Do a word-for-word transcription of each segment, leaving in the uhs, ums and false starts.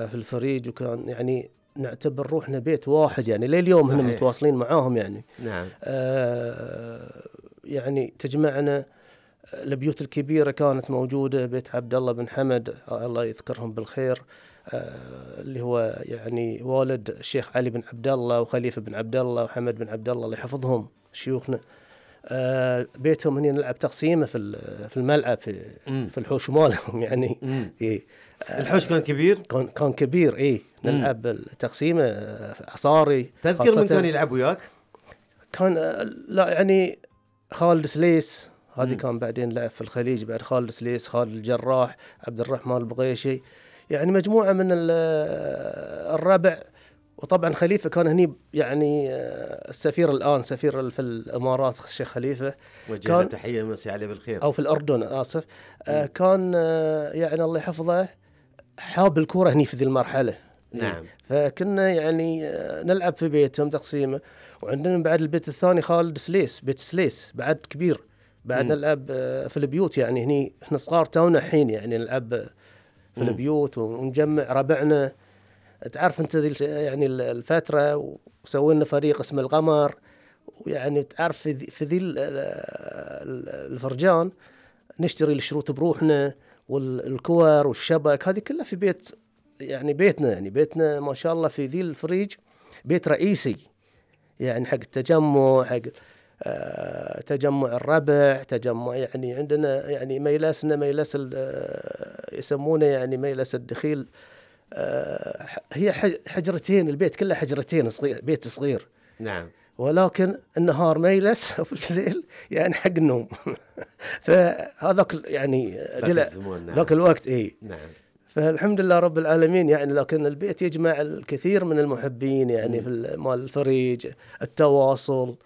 في الفريج، وكان يعني نعتبر روحنا بيت واحد يعني لليوم هنا متواصلين معاهم يعني. نعم. آه يعني تجمعنا البيوت الكبيرة كانت موجودة، بيت عبد الله بن حمد الله يذكرهم بالخير، آه اللي هو يعني والد الشيخ علي بن عبد الله وخليفة بن عبد الله وحمد بن عبد الله الله يحفظهم شيوخنا. آه بيتهم هنا نلعب تقسيمة في في الملعب في مم. في الحوش مالهم يعني. إيه. آه الحوش كان كبير. كان كان كبير إيه. نلعب التقسيمة عصاري. تذكر من كان يلعب وياك؟ كان آه لا يعني خالد سليس هذه كان بعدين لعب في الخليج بعد خالد سليس، خالد الجراح، عبد الرحمن البغيشي، يعني مجموعة من الربع. وطبعا خليفة كان هني يعني السفير الآن سفير في الإمارات الشيخ خليفة، وجه تحية مسي عليه بالخير، أو في الأردن آسف. آه كان آه يعني الله يحفظه حاب الكورة هني في ذي المرحلة. نعم. فكنا يعني آه نلعب في بيتهم تقسيمة. وعندنا بعد البيت الثاني خالد سليس، بيت سليس بعد كبير، بعد نلعب في البيوت يعني هني احنا صغار تونا حين يعني نلعب في مم. البيوت ونجمع ربعنا. تعرف انت ذي يعني الفترة، وسوينا فريق اسمه القمر، ويعني تعرف في ذي, في ذي الفرجان نشتري الشروط بروحنا والكور والشبك، هذه كلها في بيت يعني بيتنا يعني بيتنا ما شاء الله في ذي الفريج بيت رئيسي يعني حق التجمع، حق آه تجمع الربع، تجمع يعني عندنا يعني ميلاسنا ميلس آه يسمونه يعني ميلس الدخيل. آه هي حجرتين، البيت كله حجرتين صغير، بيت صغير. نعم. ولكن النهار ميلس وفي الليل يعني حق النوم. فهذاك يعني ذاك الوقت ايه. نعم. فالحمد لله رب العالمين يعني، لكن البيت يجمع الكثير من المحبين يعني م. في مال الفريج التواصل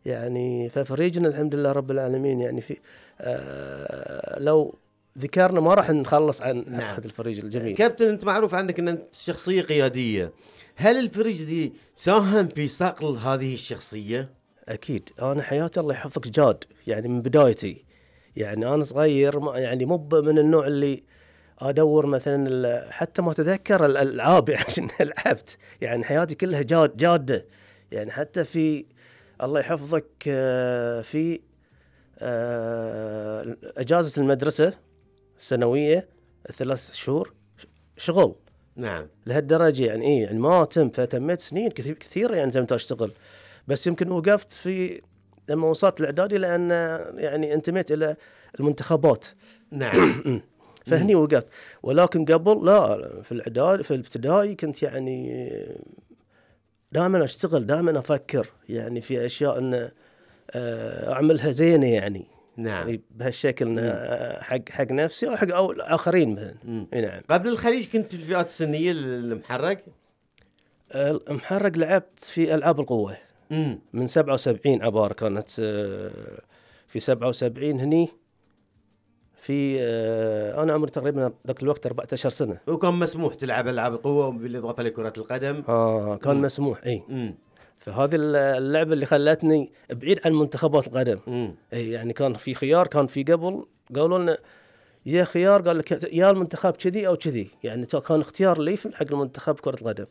يعني. ففريجنا الحمد لله رب العالمين يعني في آه لو ذكرنا ما راح نخلص عن نعم. هذا الفريج الجميل. كابتن انت معروف عنك ان انت شخصية قيادية، هل الفريج دي ساهم في صقل هذه الشخصية؟ اكيد. انا حياتي الله يحفظك جاد يعني من بدايتي يعني انا صغير يعني مو من النوع اللي ادور مثلا حتى ما اتذكر الالعاب عشان لعبت يعني حياتي كلها جاد جاده يعني. حتى في الله يحفظك في اجازه المدرسه السنويه ثلاث شهور شغل. نعم. لهالدرجه يعني ايه يعني ما تم. فتميت سنين كثير كثيره يعني تمت اشتغل، بس يمكن وقفت في لما وصلت الاعدادي لان يعني انتميت الى المنتخبات. نعم. فهني وقفت. ولكن قبل لا في الاعدادي في الابتدائي كنت يعني دائما اشتغل، دائما افكر يعني في اشياء ان اعملها زينه يعني. نعم. يعني بهالشكل حق حق نفسي او حق او الاخرين مثلا. نعم. قبل الخليج كنت في الفئات السنيه المحرق؟ المحرق لعبت في العاب القوه. مم. من سبعة وسبعين عباره كانت في سبعة وسبعين هني في آه انا عمري تقريبا ذاك الوقت أربعة عشر سنه. وكان مسموح تلعب العاب القوه بالاضافه لكره القدم؟ اه كان مم. مسموح اي. مم. فهذه اللعبه اللي خلتني بعيد عن منتخبات القدم. مم. اي يعني كان في خيار، كان في قبل قالوا لنا يا خيار، قال لك يا المنتخب كذي او كذي يعني، كان اختيار لي حق المنتخب كره القدم.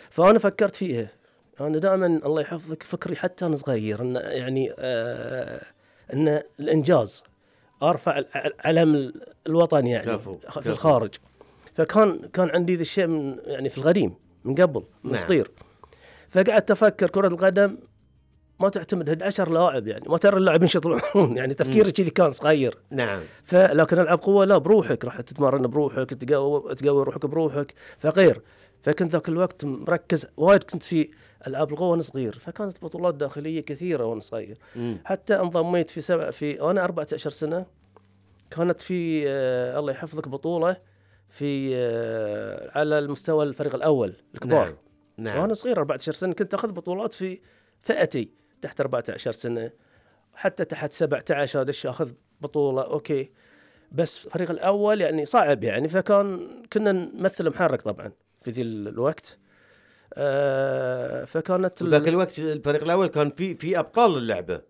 فانا فكرت فيها. انا دائما الله يحفظك فكري حتى انا صغير ان يعني آه ان الانجاز ارفع علم الوطن يعني كافو. في كافو. الخارج. فكان كان عندي ذا الشيء من يعني في القديم من قبل من نعم. صغير. فقعدت افكر كرة القدم ما تعتمد أحد عشر لاعب يعني، ما ترى اللاعبين يطلعون يعني تفكيري كذي كان صغير. نعم. فلكن العب قوه لا بروحك، راح تتمرن بروحك، تقوي تقوي روحك بروحك فغير. فكنت ذاك الوقت مركز وايد، كنت في العاب القوه وانا صغير، فكانت بطولات داخليه كثيره وانا صغير. مم. حتى انضميت في سبع في وانا أربعة عشر سنه كانت في آه الله يحفظك بطوله في آه على المستوى الفريق الاول الكبار. نعم. نعم. وانا صغير أربعة عشر سنه كنت اخذ بطولات في فئتي تحت أربعة عشر سنه، حتى تحت سبعة عشر هذا الشيء اخذ بطوله اوكي. بس الفريق الاول يعني صعب يعني، فكان كنا نمثل محرك طبعا في ذي الوقت. آه فكانت ذاك الوقت الفريق الاول كان في في ابطال اللعبه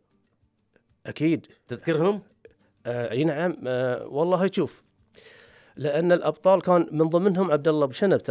اكيد تذكرهم؟ آه اي نعم. آه والله شوف، لان الابطال كان من ضمنهم عبد الله بشنب.